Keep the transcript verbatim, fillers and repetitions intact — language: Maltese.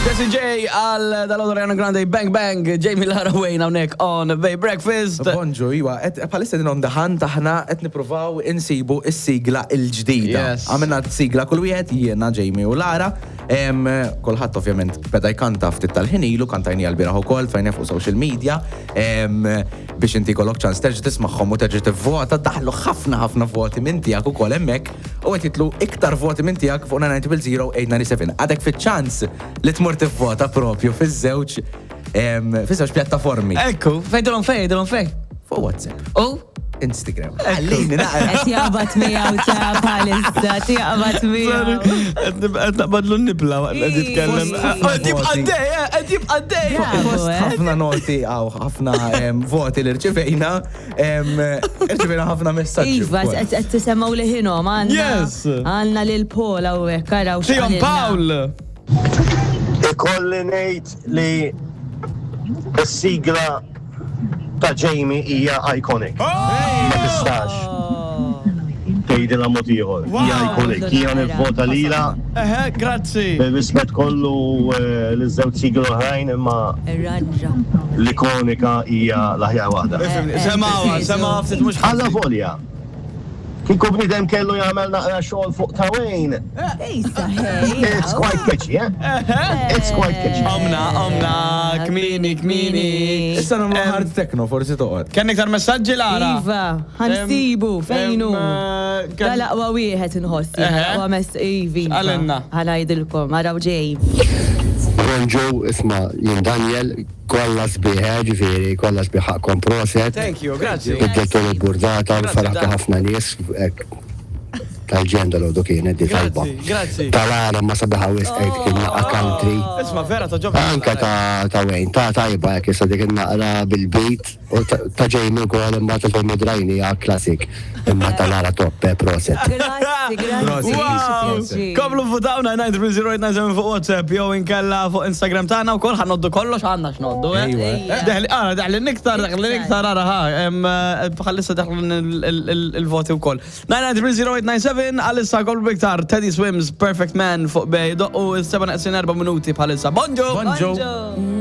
Jessie J għal dal Ariana Grande, Bang Bang, Jamie, Lara, Wayne hawnhekk on Bay Breakfast. Bonġu, iwa, bħalissa din on the hunt aħna qed nippruvaw insibu is-sigla il-ġdida. Yes. Għamilna sigla kull wieħed, jiena, Jamie u Lara. Em, Kulħadd ovvjament beda jkanta ftit tal-ħin ilu, kantajni għal-bieraħ ukoll, tfajna fuq social media, em, biex inti kollok ċans terġa' tismagħhom u terġa' tivvota. Daħlu ħafna ħafna voti minn tiegħek ukoll hemmhekk u qed jitlu iktar voti minn tiegħek fuq nine nine zero eight nine seven. Għadek fiċ-ċans li tmur tivvota propju fiż-żewġ em, fiż-żewġ pjattaformi. Ekku, fejn dilhom, fejn dilhom, fejn? Fuq WhatsApp, U? Instagram. Għallini naqra. Qed jaqbad miegħu ta' bħalissa, jaqbad miegħu. Qed naqbadlu n-nibla waqt qed jitkellem. Fost Qed jibqa' voti. dej, eh, qed jibqa' dej. Bravo, Fost eh. ħafna noti għaw, ħafna em, voti li rċivejna, em, rċivejna ħafna messaġġi Iva, wkoll. qed qed tisemgħu liħinhom għandna. Yes. Għandna lil Paul hawnhekk, araw Tion x'qalilna. Paul. Ikolli ngħid li s-sigla ta' Jamie hija iconic. Ma tistax Oh. tgħidilha mod ieħor. Hija iconic. Hija nivvota lila Eħe, grazzi. bir-rispett kollu eh, liż-żewġ sigla oħrajn, imma Irranġa. l-ikonika hija l-aħjar waħda. Semawa, semawa ftit mhux Alla volja. Kieku bniedem kellu jagħmel naqra xogħol fuq ta' Wayne. Ejsa, hey. It's quite catchy, eh? It's quite catchy. Omna, omna, kmini, kmini. Issa nagħmlu hard techno, forsi toqgħod. Kenn iktar messaġġi, Lara? Iva, ħa nsibu, fejnu. Em, eh, Dal-aqwa wieħed inħossi, Eħe. l-aqwa mess ivi. X'qalilna? Ħa ngħidilkom, araw ġej. Bonġu, isma, jien Daniel, kollha sbieħ, ġifieri, kollha sbieħ, ħaqqkom proset. Thank you, grazzi. Biddiltu l-burdata, Grazzi, faraħtu Dan. ħafna nies, hekk, tal-ġenda l kienet di tajba. Grazzi, grazzi. Tal-għala ma sabiħa wisq, hekk kien naqra country. Isma, vera ta' ġobna. Anka ta' ta' Wayne, ta' tajba jek issa dik il-naqra bil-beat u ta' ta' Jamie wkoll, imma ta' Jamie Drajni hija classic. Imma tal-għala top, eh, proset. Grazzi, grazzi. Wow! Komplu votaw nine nine three zero eight nine seven fuq WhatsApp jew inkella fuq Instagram tagħna wkoll. Ħa ngħoddu kollox, għandna x'ngħoddu, eh? Ejwa. Deħli, ara, deħli niktar, deħli niktar, ara, ħa, em, eh, bħalissa deħli il-voti wkoll. nine nine three zero eight nine seven. Għalissa kollu biktar Teddy Swims, Perfect Man fuq Bay, doqqu is-seba neqsin erba' minuti bħalissa. Bonġu! Bonġu. Bonġu.